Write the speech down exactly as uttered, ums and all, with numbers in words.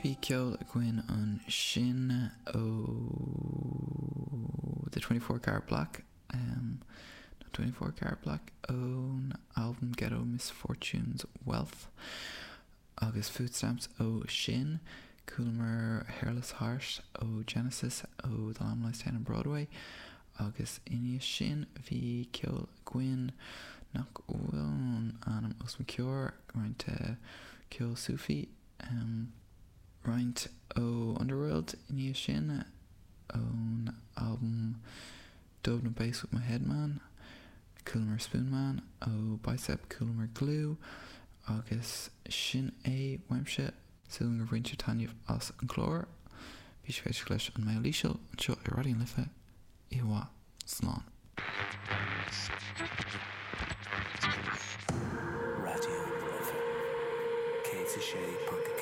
Bhí ceol againn ansin ó The Twenty Four Karat Black, um, nó Twenty Four Karat Black ón albam Ghetto Misfortune's Wealth agus Food Stamps ó sin. Chualamar Hairless Heart ó Genesis ó The Lamb Lies Down on Broadway agus ina dhiaidh sin bhí ceol againn nach bhfuil an ainm os mo chomhair, roinnt ceol Sufi, um, roinnt ó Underworld ina dhiaidh sin ón albam Dub No Bass With My Head Man, Chualamar Spoonman ó Bicep, chualamar Glue agus sin é uaimse. Súil agam gur bhain sibh taitneamh as an gclár. Bhí sibh ag éisteacht leis an Mbéal Íseal anseo ar Raidió na Life. Oíche mhaith. Slán. Raidió na Life céad a sé ponc a